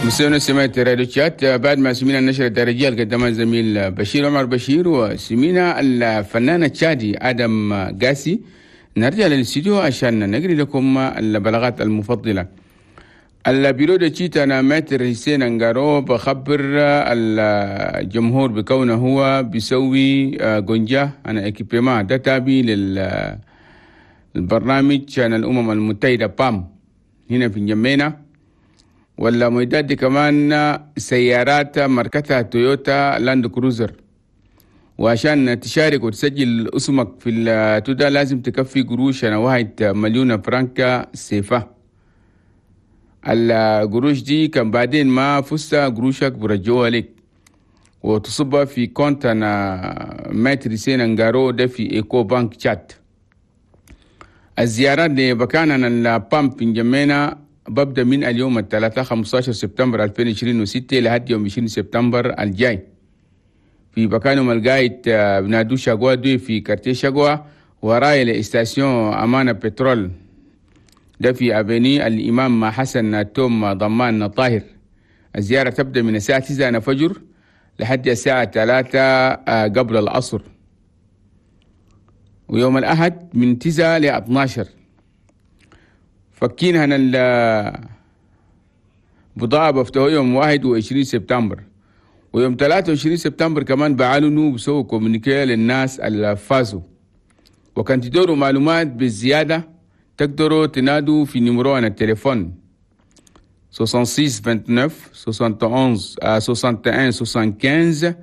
مستمعينا سمعت راديو تشات بعد ما سمينا النشرة الدارجية اللي قدمها الزميل بشير عمر بشير وسمينا الفنان التشادي آدم قاسي. نرجع للاستديو عشان نقري لكم البلاغات المفضلة. ال bureau d'études أنا maître حسين انجارو بخبر الجمهور بكونه هو بيسوي قنجة أنا équipement ده تابي للبرنامج عن الأمم المتحدة PAM هنا في جمينة. ولا معدات دي كمان سيارات ماركتها تويوتا لاند كروزر. وعشان تشارك وتسجل اسمك في التودا لازم تكفي قروش أنا 1 مليون فرنكا سيفا. القروش دي كان بعدين ما فزت قروشك برجوها لك وتصبها في compte أنا maître حسين انجارو ده في Ecobank تشاد. الزيارات لبكان ال PAM في جمينة ببدأ من اليوم الثلاثاء 15 سبتمبر 2026 لحد يوم 20 سبتمبر الجاي في بكانهم القايد بنادو شاقوا دي في quartier شاقوا وراي ل station أمانة بترول ده في avenue الإمام حسن توم ضمان طاهر. الزيارة تبدأ من الساعة 9 فجر لحد الساعة 3 قبل العصر، ويوم الأحد من 9 ل 12. فكين هنا البضاعة بفتحوا يوم 21 سبتمبر، ويوم 23 سبتمبر كمان بعلنوا بسووا communiqué للناس اللي فازوا. وكان تدوروا معلومات بالزيادة تقدروا تنادوا في numéro التليفون 66 29 71 61 75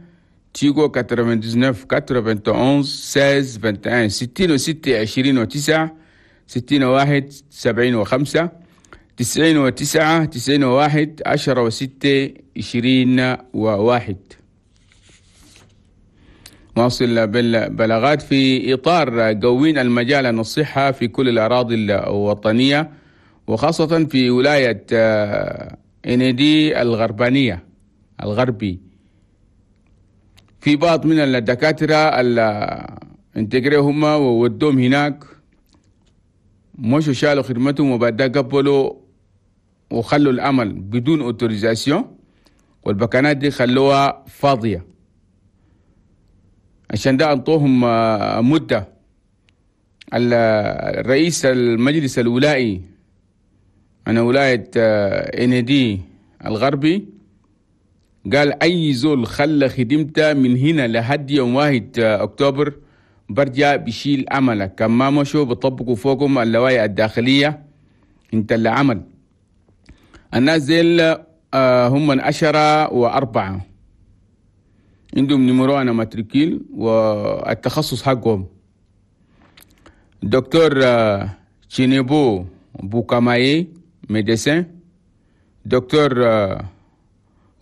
تيجو 99 91 16 21 66 29 61 75 99 91 10 و6 21. واصل بالبلاغات في إطار قوين المجال الصحة في كل الأراضي الوطنية وخاصة في ولاية إنيدي الغربانية الغربي. في بعض من الدكاترة اللي intégré هم وودوهم هناك مشوا شالوا خدمتهم وبعد قبلوا وخلوا العمل بدون autorisation، والبكانات دي خلوها فاضية. عشان ده انطوهم مدة. الرئيس المجلس الولائي أنا ولاية إنيدي الغربي قال أي زول خلى خدمته من هنا لحد يوم 1 أكتوبر برجع بشيل عمله، كان ما مشوا بطبقوا فوقهم اللوائح الداخلية انت اللي عمل. الناس ديل هم من 10 و4 عندهم numéro أنا matricule والتخصص حقهم. دكتور تشينيبو بوكاماي médecin، دكتور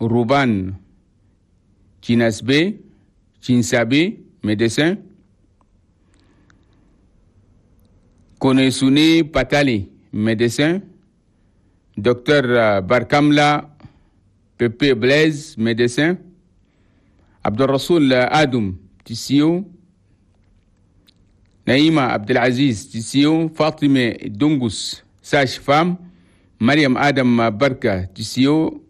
روبان تشيناسبي تشينسابي médecin، كونيسوني باتالي médecin، دكتور باركاملا بيبي بليز médecin، عبد الرسول آدم تيسيو، نعيمة عبد العزيز تيسيو، فاطمة دونغوس sage-femme، مريم آدم بركة تيسيو،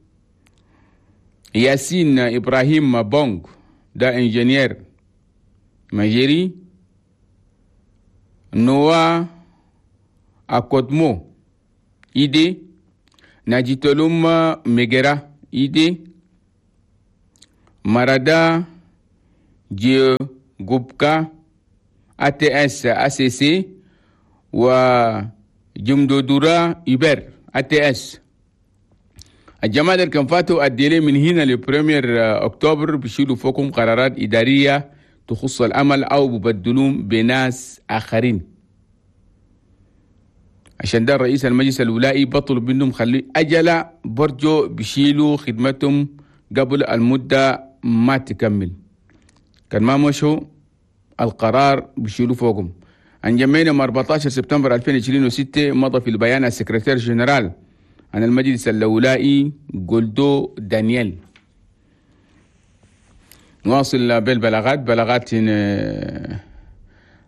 ياسين إبراهيم بونغ ده ingénieur ماجيري، نوا أكودمو إيدي، ناجيتولوم ميجرا إيدي، مارادا جيو غوبكا ATS ACC و جمدودورا إبر ATS. الجماعة اللي كان فاتوا ال délai من هنا ل premier أكتوبر بيشيلوا فوقهم قرارات إدارية تخص العمل أو ببدلوهم بناس آخرين. عشان ده الرئيس المجلس الولائي بطلب منهم خلي أجلة برجو بيشيلوا خدمتهم قبل المدة ما تكمل، كان ما مشوا القرار بيشيلوا فوقهم. انجمينا 14 سبتمبر 2026 مضى في البيان ال secrétaire général عن المجلس الولائي جولدو دانيال. نواصل بالبلاغات. بلاغات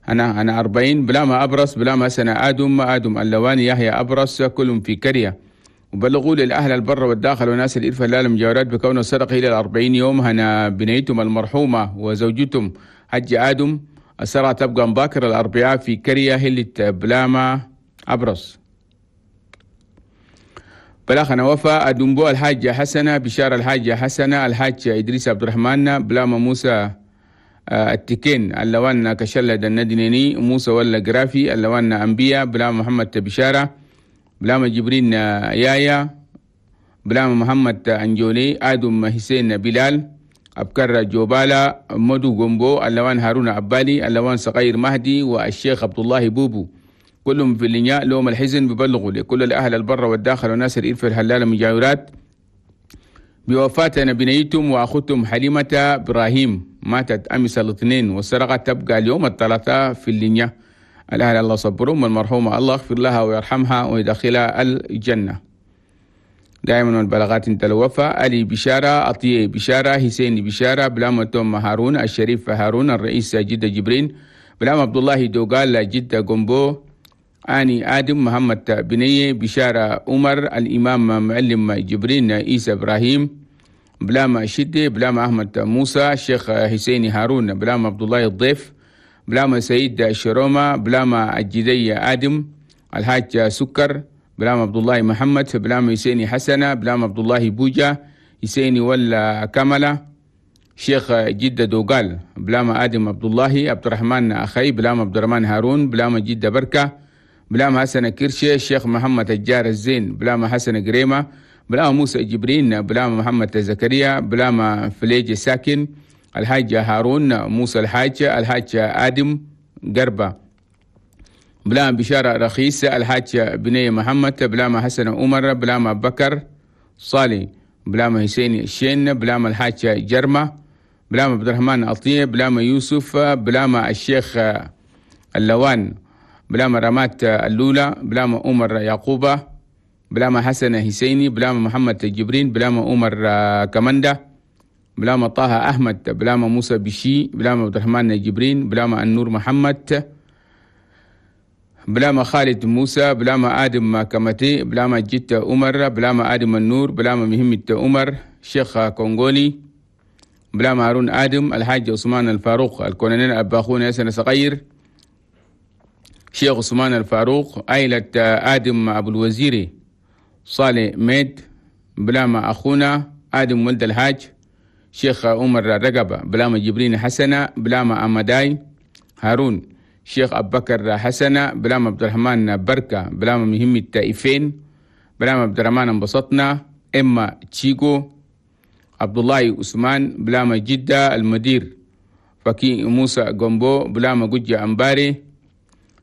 أنا 40 بلا ما أبرص بلا ما سنة آدم آدم اللواني يحيى أبرص كلهم في كرية وبلغوا للأهل البر والداخل وناس الإرفة لا المجاورات بكون السرقة إلى 40 يوم هنا بنيتهم المرحومة وزوجتهم حج آدم. السرعة تبقى مباكر الأربعاء في كرية هلة بلاما أبرص. بلاخنا وفا أدنبو الحاجة حسنة بشارة الحاجة حسنة الحاج إدريس عبد الرحمن بلاما موسى التكين اللوان كشلة الندنيني موسى ولا جرافي اللوان أنبياء بلاما محمد بشارة بلاما جبرين يايا بلاما محمد أنجولي آدم حسين بلال أبكر جوبالا مدو جومبو اللوان هارون عبالي اللوان صغير مهدي والشيخ عبد الله بوبو كلهم في اللنياء لهم الحزن. ببلغوا لكل الأهل البر والداخل وناس الإرفة الهلال المجاورات بوفاة بنيتهم وأخوتهم حليمة إبراهيم ماتت أمس الاثنين والسرقة تبقى اليوم الثلاثاء في اللنياء. الأهل الله صبرهم والمرحومة الله يغفر لها ويرحمها ويدخلها الجنة. دائما البلاغات انت الوفا علي بشارة أطيه بشارة حسين بشارة بلامة توم هارون الشريف هارون الرئيس جدة جبرين بلام عبد الله دوغال جدة جومبو آني آدم محمد بنية بشارة عمر الإمام معلم جبرين عيسى إبراهيم بلام شدة بلام أحمد موسى الشيخ حسين هارون بلام عبد الله الضيف بلام سيد الشرومة بلام الجدية آدم الحاج سكر بلام عبد الله محمد بلام حسيني حسنة بلام عبد الله بوجا حسيني ولا كملة شيخ جدة دوغال بلام آدم عبد الله عبد الرحمن أخي بلام عبد الرحمن هارون بلام جدة بركة بلام حسن كرشي الشيخ محمد الجار الزين بلام حسن قريمة بلام موسى جبرين بلام محمد زكريا بلام فليج ساكن الحاج هارون موسى الحاج الحاج آدم قربة بلام بشارة رخيص الحاج بني محمد بلام حسن عمر بلام بكر صالي بلام حسين الشين بلام الحاج جرمة بلام عبد الرحمن عطية بلام يوسف بلام الشيخ اللوان بلام رمات اللولة بلام عمر يعقوبة بلام حسن حسيني بلام محمد جبرين بلام عمر كمندة بلام طه أحمد بلام موسى بشي بلام عبد الرحمن جبرين بلام النور محمد بلام خالد موسى بلام آدم كمتي بلام جيت عمر بلام آدم النور بلام مهمة عمر شيخ كونغولي بلام هارون آدم الحاج عثمان الفاروق الكولونيل أباخون ياسر صغير شيخ عثمان الفاروق عائلة آدم أبو الوزيري صالح ميد بلام أخونا آدم ولد الحاج شيخ عمر رقبة بلام جبرين حسنة بلام أمداي هارون شيخ أبو بكر حسنة بلام عبد الرحمن بركة بلام مهم التائفين بلام عبد الرحمن انبسطنا إما تشيكو عبد الله عثمان بلام جدة المدير فكي موسى جومبو بلام جوجة أمباري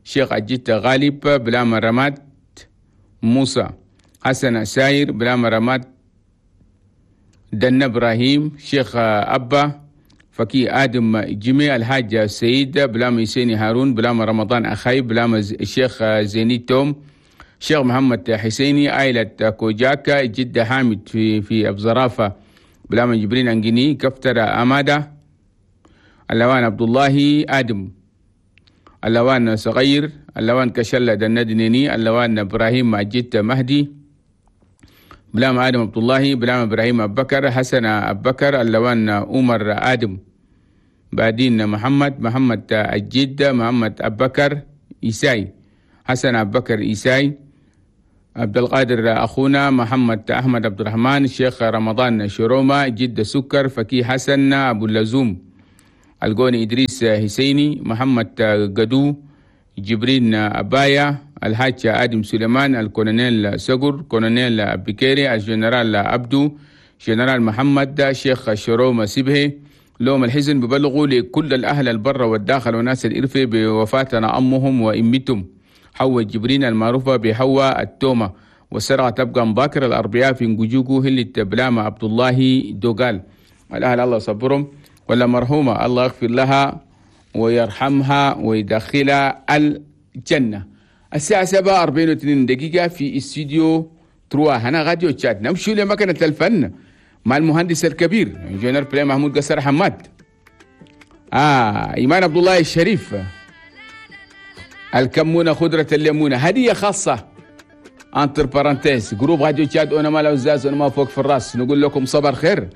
شيخ أجيت غالب بلام رمات موسى حسن ساير بلام رمات دن إبراهيم شيخ أبا فكي آدم جميع الحاج سيد بلام حسين هارون بلام رمضان أخي بلام الشيخ زيني توم شيخ محمد حسيني عائلة كوجاكا جدة حامد في أبزرافة بلام جبرين أنجيني كفتر أمادة اللوان عبد الله آدم اللوان صغير اللوان كشلة دندنيني اللوان إبراهيم مجيد مهدي بلام آدم عبد الله بلام إبراهيم أبو بكر حسن أبو بكر اللوان عمر آدم بعدين محمد محمد الجد محمد أبو بكر إيساي حسن أبو بكر إيساي عبد القادر أخونا محمد أحمد عبد الرحمن الشيخ رمضان شرومة جد سكر فكي حسن أبو اللزوم القوني إدريس حسيني محمد قدو جبرين أبايا الحاج آدم سليمان الكولونيل سقر كولونيل أبكيري الجنرال عبدو جنرال محمد شيخ شرومة سبهي. لهم الحزن ببلغوا لكل الأهل البر والداخل وناس الإرفة بوفاتنا أمهم وإمتهم حواء جبرين المعروفة بحواء التومة والسرعة تبقى مباكر الأربعاء في نجوجو هلة بلامة عبد الله دوغال. الأهل الله صبرهم ولا مرحومة الله يغفر لها ويرحمها ويدخلها الجنة. الساعة 7:42 في استوديو تروا هنا راديو تشاد. نمشي لمكنة الفن مع المهندس الكبير انجينير بلاي محمود قصر حماد. إيمان عبد الله الشريف الكمونة خضرة الليمونة هدية خاصة Entre parenthèses groupe راديو تشاد اونما العزاز اونما فوق في الراس. نقول لكم صباح الخير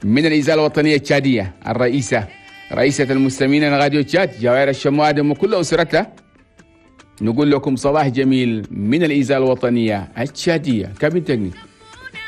من الإذاعة الوطنية التشادية، الرئيسة رئيسة المستمعين راديو تشاد جوائر الشمو آدم وكل أسرتها. نقول لكم صباح جميل من الإذاعة الوطنية التشادية. Cabine technique.